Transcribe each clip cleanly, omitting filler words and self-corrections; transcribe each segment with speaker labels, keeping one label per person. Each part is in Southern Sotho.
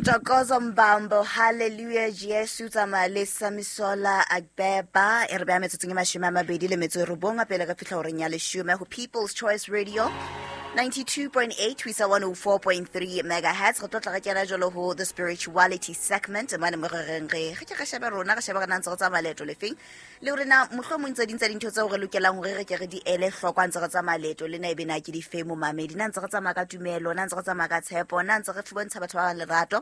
Speaker 1: Ntokozo Mbambo, Hallelujah Jesu, tsamaya le Samisola Agbeba. E re beha metsotsong e 29 pele ka fihla horeng ya 10 ho People's Choice Radio 92.8 ho isa 104.3 megahertz. Re tlotla re kena jalo ho the spirituality segment mane mo re reng re ke re shebe rona, re shebe re na ntse re tsamaya leeto lefeng, le hore na mohlomong tse ding tsa dintho tseo re lokelang hore re ke re di ele hloko ha ntse re tsamaya leeto lena, ebe na ke di fe momamedi, na ntse re tsamaya ka tumelo, na ntse re tsamaya ka tshepo, na ntse re bontsha batho ba bang lerato,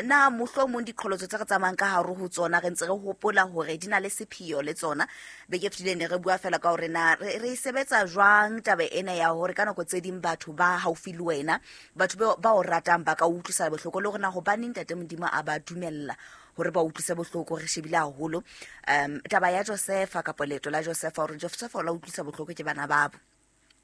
Speaker 1: na mohlomong diqholotso tse re tsamayang ka hare ho tsona re ntse re hopola hore di na le sepheo le tsona. Beke e fetileng ne re bua fela ka hore na re e sebetsa jwang taba ena ya hore ka nako tse ding batho ba haufi le wena, batho ba o ratang, ba ka o utlwisa bohloko, le hore na hobaneng Ntate Modimo a ba dumella hore ba utlwise bohloko. Re shebile haholo taba ya Josefa kapa leeto la Josefa, hore Josefa o la utlwisa bohloko ke bana babo.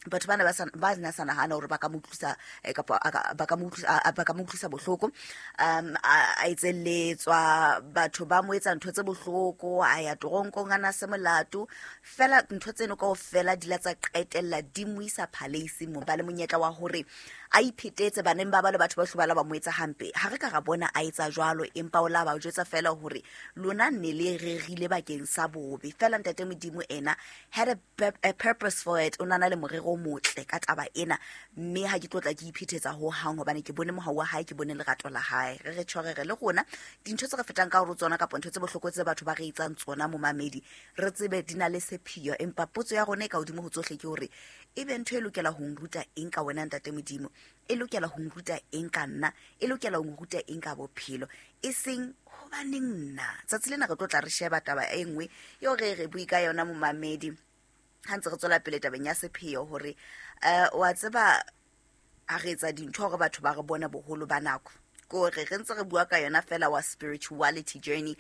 Speaker 1: Batho bana ba na sa nahana hore ba ka mo utlwisa, kapa ba ka mo utlwisa, ba ka mo utlwisa bohloko. A etselletswa, batho ba mo etsa ntho tse bohloko, a ya toronkong a na se molato. Fela ntho tseno kaofela di la tsa qetella di mo isa palace mo ba le monyetla wa hore a iphetetse baneng ba ba le batho ba hlobala ba mo etsa hampe. Ha re ka ra bona a etsa jwalo, empa o la ba jwetsa fela hore lona ne le rerile bakeng sa bobe. Fela Ntate Modimo ena had a purpose for it, o nana le morero o motle ka taba ena, mme ha ke tlotla ke iphethetsa ho hang hobane ke bone mohau wa hae, ke bone lerato la hae. Re re tjhore re le rona dintho tse re fetang ka hore tsona kapa ntho tse bohloko tse batho ba re etsang tsona momamedi, re tsebe di na le sepheo. Empa potso ya rona e ka hodimo ho tsohle ke hore ebe ntho e lokela ho nruta eng ka wena Ntate Modimo, e lokela ho nruta eng ka nna, e lokela ho nruta eng ka bophelo, e seng hobaneng nna. Tsatsi lena re tlo tla re sheba taba e nngwe eo re re bue ka yona momamedi ha ntse re tswela pele tabeng ya sepheo, hore wa tseba ha re etsa dintho hore batho ba re bone boholo ba nako, ke hore re ntse re bua ka yona fela wa spirituality journey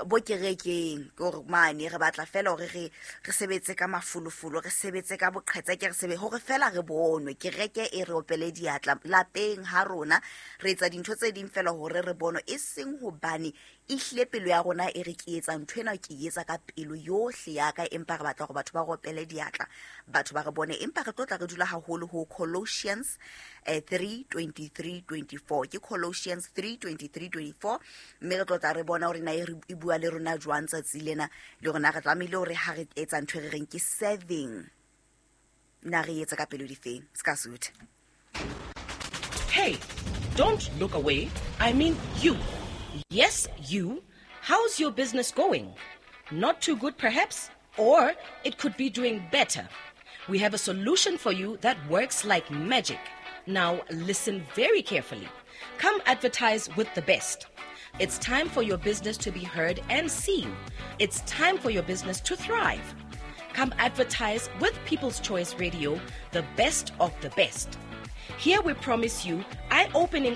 Speaker 1: bo kerekeng, ke hore mane re batla fela hore re sebetse ka mafolofolo, re sebetse ka boqhetseke, re sebe hore fela re bonwe, kereke e re opele diatla. Lapeng ha rona re etsa dintho tse ding fela hore re bonwe, e seng hobane ehlile pelo ya rona e re ke etsa ntho ena, ke etsa ka pelo yohle ya ka, empa re batla hore batho ba re opele diatla, batho ba re bone. Empa re tlo tla re dula haholo ho Colossians 3:23-24. Ke Colossians 3:23-24, mme re tlo tla re bona hore na e bua le rona jwang tsatsi lena, le rona re tlamehile hore ha re etsa ntho e re reng ke serving, na re etsa ka pelo difeng. Se ka sutha.
Speaker 2: Hey, don't look away. I mean you. Yes, you. How's your business going? Not too good, perhaps? Or it could be doing better. We have a solution for you that works like magic. Now, listen very carefully. Come advertise with the best. It's time for your business to be heard and seen. It's time for your business to thrive. Come advertise with People's Choice Radio, the best of the best. Here we promise you eye-opening